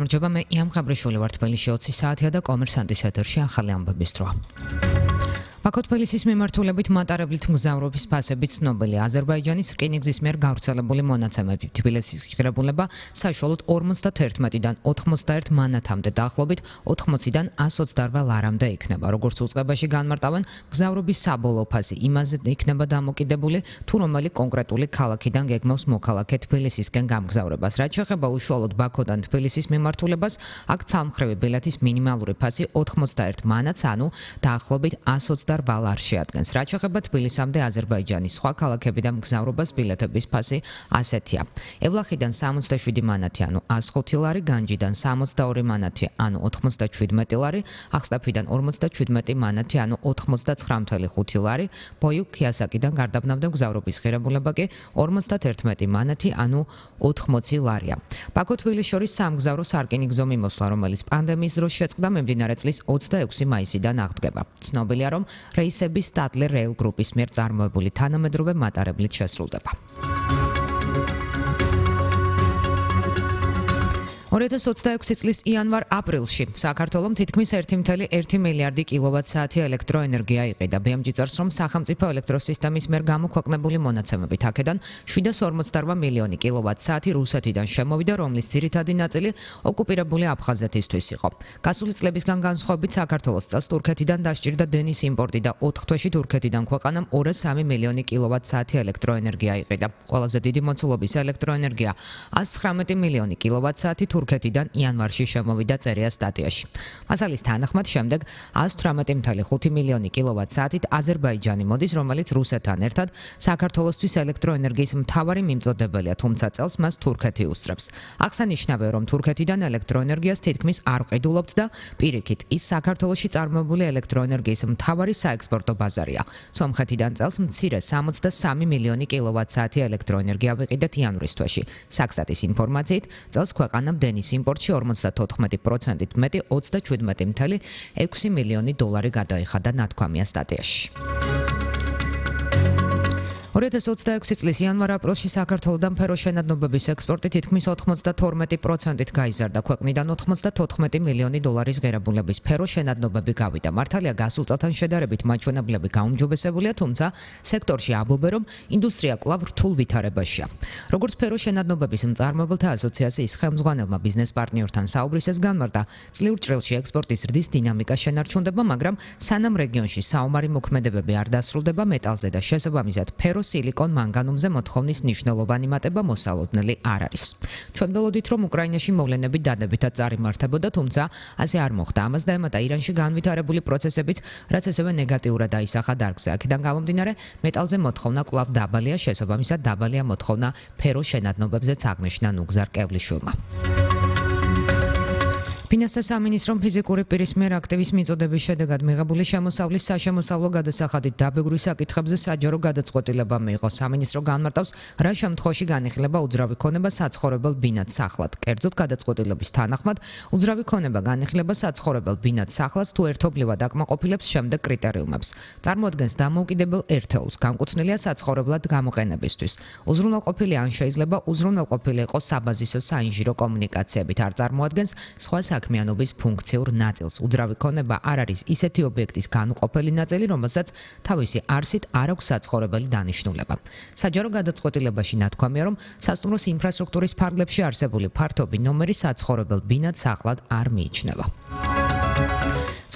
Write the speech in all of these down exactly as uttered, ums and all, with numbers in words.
გამარჯობა, მე იამ ღაბრიშვილი ვარ თბილისში ოცი საათია და კომერსანტის ეთერში ახალი ამბების დრო. ბაქო თბილისის მიმართულებით მატარებლით მგზავრობის ფასები ცნობილია. აზერბაიჯანის რკინიგზის მიერ გავრცელებული მონაცემებით თბილისის ღირებულება საშუალოდ ორმოცდაერთიდან ოთხმოცდაერთ მანათამდე დაახლოებით ოთხმოციდან ასს ოცდაორ ლარამდე იქნება. როგორც უწყებაში განმარტავენ, მგზავრობის საბოლოო ფასი იმაზე იქნება დამოკიდებული, თუ რომელი კონკრეტული ქალაქიდან გეგმავს მოქალაქე თბილისისკენ გამგზავრებას. რაც შეეხება უშუალოდ ბაქოდან თბილისის მიმართულებას, აქ ცალმხრივი ბილეთის მინიმალური ფასი ოთხმოცდაერთ მანათს, ანუ დაახლოებით ასს ოცდაორ ბალ არ შეადგენს. რაც შეეხება თბილისამდე აზერბაიჯანის სხვა ქალაქებიდან მგზავრობას ბილეთების ფასი ასეთია. ევლახიდან სამოცდაშვიდი მანათი, ანუ ასს ხუთი ლარი, განჯიდან სამოცდაორი მანათი, ანუ ოთხმოცდაჩვიდმეტი ლარი, ახსტაფიდან ორმოცდაჩვიდმეტი მანათი, ანუ ოთხმოცდაცხრა ოცდაორი ლარი, ბოიუ ქიასაკიდან გარდაბნამდე მგზავრობის ღირებულება კი ორმოცდაერთმეტი მანათი, ანუ ოთხმოცი ლარია. ბაქო თბილისს შორის სამგზავრო სარკინიგზო მიმოსვლა, რომელიც პანდემიის დროს შეწყდა, მიმდინარე წლის ოცდაექვსი მაისიდან აღდგება. ცნობილია, რომ რეისები სტატლერ რეილ გრუპის მიერ წარმოებული თანამედროვე მატარებლით შესრულდება. ორი ათას ოცდაექვსი წლის იანვარ-აპრილში საქართველომ თითქმის ერთი წუთი ერთი მილიარდი კილოვატ-საათი ელექტროენერგია იყიდა. ბი ემ ჯი წერს, რომ სახელმწიფო ელექტროსისტემის მიერ გამოქვეყნებული მონაცემებით აქედან შვიდას ორმოცდაორ მილიონი კილოვატ-საათი რუსეთიდან შემოვიდა, რომლის ძირითადი ნაწილი ოკუპირებული აფხაზეთისთვის იყო. გასული წლებისგან განსხვავებით საქართველოს წელს თურქეთიდან დასჭირდა დენის იმპორტი და ოთხ თვეში თურქეთიდან ქვეყანამ ორი და სამი მილიონი კილოვატ-საათი ელექტროენერგია იყიდა. ყველაზე დიდი მოცულობის ელექტროენერგია ასი და ცხრამეტი მილიონი კილოვატ-საათი თურქეთიდან იანვარში შემოვიდა, წერია სტატიაში. მასალის თანახმად შემდეგ ასი და თვრამეტი ოცდაორი ხუთი მილიონი კილოვატ-საათით აზერბაიჯანი მოდის, რომელიც რუსეთთან ერთად საქართველოსთვის ელექტროენერგიის მთავარი მიმწოდებელია, თუმცა წელს მას თურქეთი უსწრებს. აღსანიშნავია, რომ თურქეთიდან ელექტროენერგიას თითქმის არ ყიდულობთ და პირიქით ის საქართველოში წარმოებული ელექტროენერგიის მთავარი საექსპორტო ბაზარია. სომხეთიდან წელს მცირე სამოცდასამი მილიონი კილოვატ-საათი ელექტროენერგია ვიყიდეთ იანვრის თვეში. საქსტატის ინფორმაციით, წელს ქვეყანამ დენის იმპორტში ორმოცდათოთხმეტი პროცენტით მეტი ოცდაჩვიდმეტი წუთი ექვსი მილიონი დოლარი გადაიხადა, ნათქვამია სტატიაში. ორი ათას ოცდაექვსი წლის იანვარ-აპრილში საქართველოდან ფეროშენადნობების ექსპორტი თითქმის ოთხმოცდათორმეტი პროცენტით გაიზარდა. ქვეყნიდან ოთხმოცდათოთხმეტი მილიონი დოლარის ღირებულების ფეროშენადნობები გავიდა. მართალია გასულ წელთან შედარებით მაჩვენებლები გაუმჯობესებულია, თუმცა სექტორში ამბობენ, რომ ინდუსტრია კვლავ რთულ ვითარებაშია. როგორც ფეროშენადნობების მწარმოებელთა ასოციაციის ხელმძღვანელმა ბიზნეს პარტნიორთან საუბრისას განმარტა, წლიურ ჭრილში ექსპორტის ზრდის დინამიკა შენარჩუნდება, მაგრამ სანამ რეგიონში საომარი მოქმედებები არ დასრულდება, მეტალზე და შესაბამისად ფერო სილიკონ მანგანუმზე მოთხოვნის მნიშვნელოვანი მატება მოსალოდნელი არ არის. ჩვენ ველოდით, რომ უკრაინაში მოვლენები დადებითად წარიმართებოდა, თუმცა ასე არ მოხდა. ამას დაემატა ირანში განვითარებული პროცესებიც, რაც ასევე ნეგატიურად აისახა დარგზე. აქედან გამომდინარე, მეტალზე მოთხოვნა კვლავ დაბალია, შესაბამისად დაბალია მოთხოვნა ფერო შენადნობებზეც, აღნიშნა ნუგზარ კევლიშვილმა. ფინანსთა სამინისტრომ ფიზიკური პირის მიერ აქტივის მიწოდების შედეგად მიღებული შემოსავლის საშემოსავლო გადასახადით დაბეგვრის საკითხებზე საჯარო გადაწყვეტილება მიიღო. სამინისტრო განმარტავს, რა შემთხვევაში განიხილება უძრავი ქონება საცხოვრებელ ბინად სახლად. კერძოდ გადაწყვეტილების თანახმად, უძრავი ქონება განიხილება საცხოვრებელ ბინად სახლად, თუ ერთობლივად აკმაყოფილებს შემდეგ კრიტერიუმებს. წარმოადგენს დამოუკიდებელ ერთეულს, განკუთვნილია საცხოვრებლად გამოყენებისთვის. უზრუნველყოფილი ან შეიძლება უზრუნველყოფილი იყოს საბაზისო საინჟირო კომუნიკაციებით, არ წარმოადგენს სხვა საქმიანობის ფუნქციურ ნაწილს. უძრავი ქონება არ არის ისეთი ობიექტის განუყოფელი ნაწილი, რომელსაც თავისი არსით არ აქვს საცხოვრებელი დანიშნულება. საჯარო გადაწყვეტილებაში ნათქვამია, რომ სასტუმროს ინფრასტრუქტურის ფარგლებში არსებული ფართობი ნომერი საცხოვრებელ ბინად სახლად არ მიიჩნევა.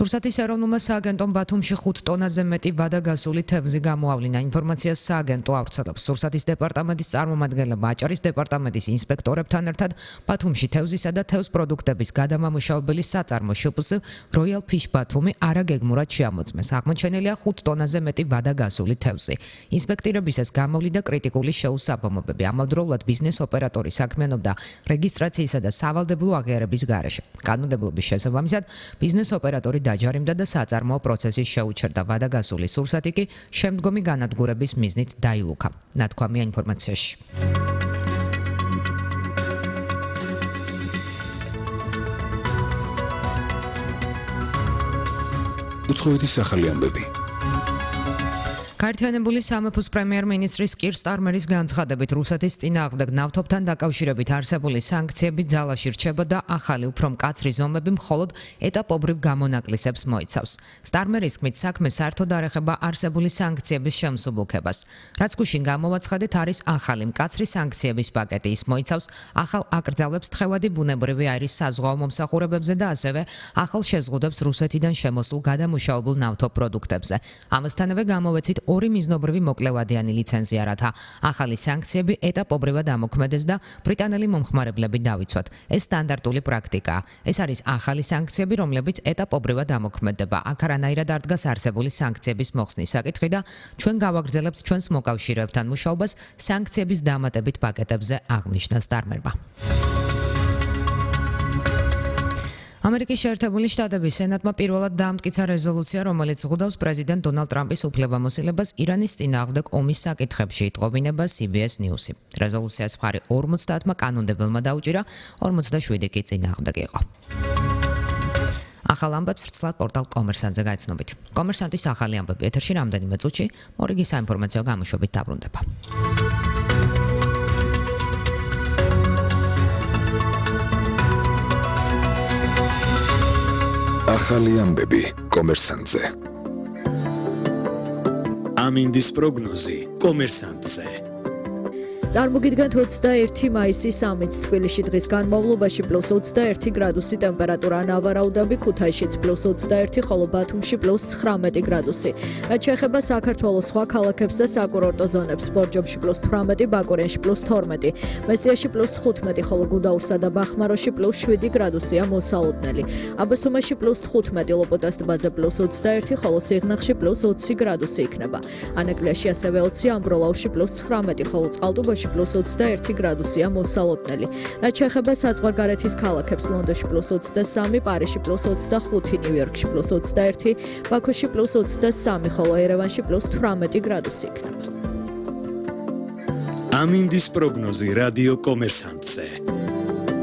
სურსათის ეროვნულმა სააგენტომ ბათუმში ხუთ ტონაზე მეტი ბადაგასული თევზი გამოავლინა. ინფორმაციას სააგენტო ავრცელებს. სურსათის დეპარტამენტის წარმომადგენლებმა აჭარის დეპარტამენტის ინსპექტორებთან ერთად ბათუმში თევზისა და თევზ პროდუქტების გადამამუშავებელი საწარმო შპს Royal Fish ბათუმი არაგეგმურად შეამოწმეს. აღმოჩენილია ხუთ ტონაზე მეტი ბადაგასული თევზი. ინსპექტირებისას გამოვლინდა კრიტიკული შეუსაბამობები. ამავდროულად ბიზნეს ოპერატორი საქმიანობდა რეგისტრაციისა და სავალდებულო აღიარების გარეშე. კანონმდებლობის შესაბამისად, ბიზნეს ოპერატორი დაჯარიმდა და საწარმოო პროცესი შეუჩერდა. ბადაგასული სურსათი კი შემდგომი განადგურების მიზნით დაილუქა. ნათქვამია ინფორმაციაში. უცხოეთის ახალი ამბები. გაერთიანებული სამეფოს პრემიერ-მინისტრის კირ სტარმერის განცხადებით რუსეთის წინააღმდეგ ნავთობთან დაკავშირებით არსებული სანქციები ძალაში რჩება და ახალი უფრო მკაცრი ზომები მხოლოდ ეტაპობრივ გამონაკლისებს მოიცავს. სტარმერის თქმით, საქმე საერთოდ არ ეხება არსებული სანქციების შემსუბუქებას. რაც გუშინ გამოვაცხადეთ, არის ახალი მკაცრი სანქციების პაკეტი. ის მოიცავს ახალ აკრძალვებს თხევადი ბუნებრივი აირის საზღვაო მომსახურებებზე და ასევე ახალ შეზღუდვებს რუსეთიდან შემოსულ გადამუშავებულ ნავთობ პროდუქტებზე. ამასთანავე გამოვეცით ორი მიზნობრივი მოკლევადიანი ლიცენზია, რათა ახალი სანქციები ეტაპობრივად ამოქმედეს და ბრიტანელი მომხმარებლები დავიცვათ. ეს სტანდარტული პრაქტიკაა. ეს არის ახალი სანქციები, რომლებიც ეტაპობრივად ამოქმედება. აქ არანაირად არ დგას არსებული სანქციების მოხსნის საკითხი და ჩვენ გავაგრძელებთ ჩვენს მოკავშირეებთან მუშაობას სანქციების დამატებით პაკეტებზე, აღნიშნა სტარმერმა. ამერიკის შეერთებული შტატების სენატმა პირველად დაამტკიცა რეზოლუცია, რომელიც ზღუდავს პრეზიდენტ დონალდ ტრამპის უფლებამოსილებას ირანის წინააღმდეგ ომის საკითხებში, იტყობინება C B S News-ი. რეზოლუციას მხარი ორმოცდაათმა კანონმდებელმა დაუჭირა, ორმოცდაშვიდი კი წინააღმდეგ იყო. ახალ ამბებს ვრცლად პორტალ კომერსანტზე გაიცნობით. კომერსანტის ახალი ამბები ეთერში რამდენიმე წუთში, მორიგი საინფორმაციო გამოშვებით დაბრუნდება. ახალი ამბები კომერსანტზე. ამინდის პროგნოზი კომერსანტზე. წარმოგიდგენთ ოცდაერთი მაისის სამიც თბილისში დღის განმავლობაში პლუს ოცდაერთი გრადუსი ტემპერატურა, ნავარაუდაბი ქუთაისშიც პლუს ოცდაერთი, ხოლო ბათუმში პლუს ცხრამეტი გრადუსი. რაც შეეხება საქართველოს სხვა ქალაქებს და საკურორტო ზონებს, ბორჯომში პლუს თვრამეტი, ბაკურიანში პლუს თორმეტი, მესტიაში პლუს თხუთმეტი, ხოლო გუდაურსა და ბახმაროში პლუს შვიდი გრადუსია მოსალოდნელი. აბასთუმანში პლუს თხუთმეტი, ლოპოტას ტბაზე პლუს ოცდაერთი, ხოლო სიღნაღში პლუს ოცი გრადუსი იქნება. ანაკლიაში ასევე ოცი, ამბროლაურში პლუს ცხრამეტი, ხოლო წყალტუბოში პლუს ოცდაერთი გრადუსია მოსალოდნელი. რაც შეეხება საზღვარგარეთის ქალაქებს, ლონდონში პლუს ოცდასამი, პარიზში პლუს ოცდახუთი, ნიუ-იორკში პლუს ოცდაერთი, ბაქოში პლუს ოცდასამი, ხოლო ერევანში პლუს თვრამეტი გრადუსი იქნება. ამინდის პროგნოზი რადიო კომერსანტზე.